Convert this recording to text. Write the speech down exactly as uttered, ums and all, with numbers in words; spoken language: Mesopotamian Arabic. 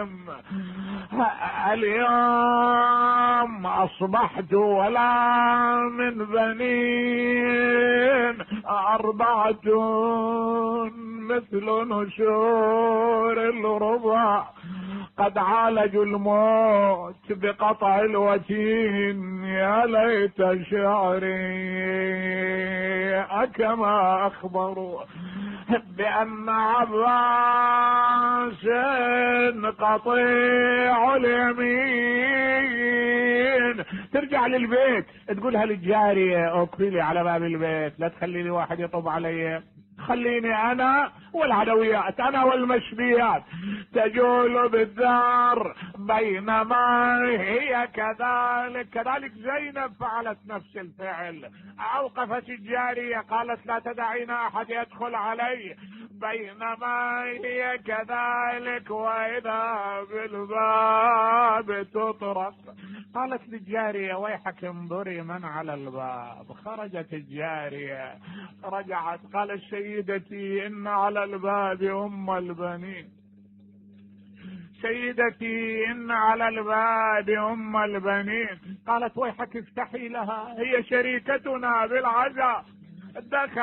النعيم. اليوم اصبحت ولا من بنين، اربعة مثل نشور الرضا، قد عالجوا الموت بقطع الوتين. يا ليت شعري أكما أخبروا بأن عباس قطيع اليمين. ترجع للبيت تقولها للجارية اكفي لي على باب البيت، لا تخلي لي واحد يطب علي، خليني انا والعدويات، انا والمشبيات تجول بالدار. بينما هي كذلك كذلك زينب فعلت نفس الفعل، اوقفت الجارية قالت لا تدعين احد يدخل علي. بينما هي كذلك واذا بالباب تطرق، قالت للجارية ويحك انظري من على الباب. خرجت الجارية رجعت قالت سيدتي ان على الباب ام البنين، سيدتي ان على الباب ام البنين. قالت ويحك افتحي لها، هي شريكتنا بالعزاء. دخل